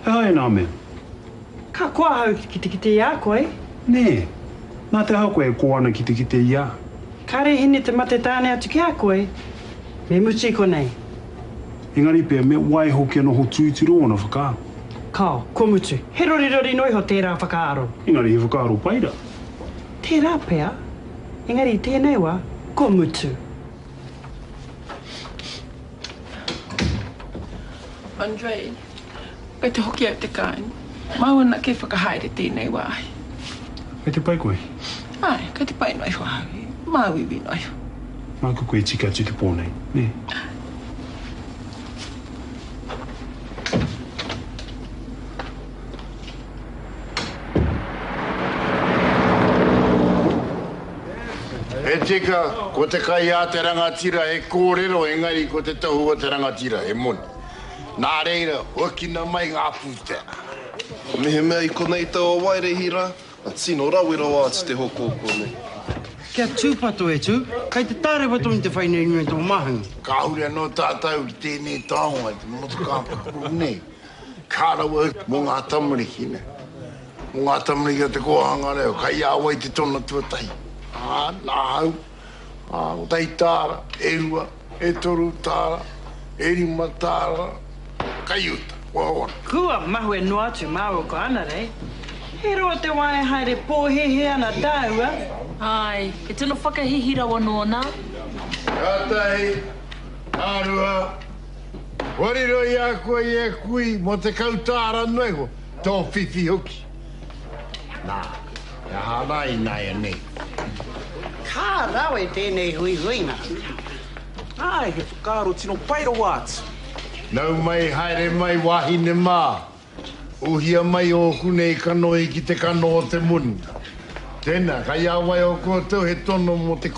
He aha ēnā mea? Ka koa ahau ki te kite i a koe. Nē. Nā te aha koe e koa ana ki te kite i a? Kāre hine te mate tāne atu ki a koe. Me mutu i konei. Engari pea me waiho kia noho tūturu ōna whakaaro. Kao, kua mutu. He rorirori noa iho tērā whakaaro. Engari he whakaaro pai rā. Tērā pea. Engari i tēnei wā, kua mutu. Andre, kei te hoki au te kāinga. Māu anake e whakahaere tēnei wāhi. Kei te pai koe? Āe, kei te pai noa iho ahau. Māuiui noa iho. Māku koe e tika atu te pō nei, nē? Āe. He tika, ko te kai a te rangatira he kōrero engari ko te tohu o te rangatira he moni. Nā reira, huakina mai ngā pūtea. Mehemea i konei taua waerehi rā, ka tino rawe rawa atu te hoko o konei. Kia tūpato e Tū, kei te tārewa tonu te whai nei i tō māhunga. Kāore anō tātou ki tēnei taonga i te motokā paku nei. Ka rawe mō ngā tamariki, nē. Mō ngā tamariki o te kōhanga reo, kai a wai te tono tuatahi? Ā, nāhau, ā, kotahi tāra, e rua, e toru tāra, e rima tāra, kai uta, kua ora. Kua mahue noa atu māua ko Anarei. He roa te wā e haere pōhēhē ana tāua. Āe, he tino whakahīhī rawa nōna. Ka tahi, ka rua, Kua riro i a koe e kui mō 10 tāra noa iho, tō whiwhi hoki. Nā, he aha rā ināianei? Ka rawe tēnei huihuinga. Āe, he whakaaro tino pai rawa atu. Nau mai, haere mai wāhine mā. Uhia mai ōku nei kanohi ki te kano o te moni. Tēnā, kai a wai o koutou he tono mō te.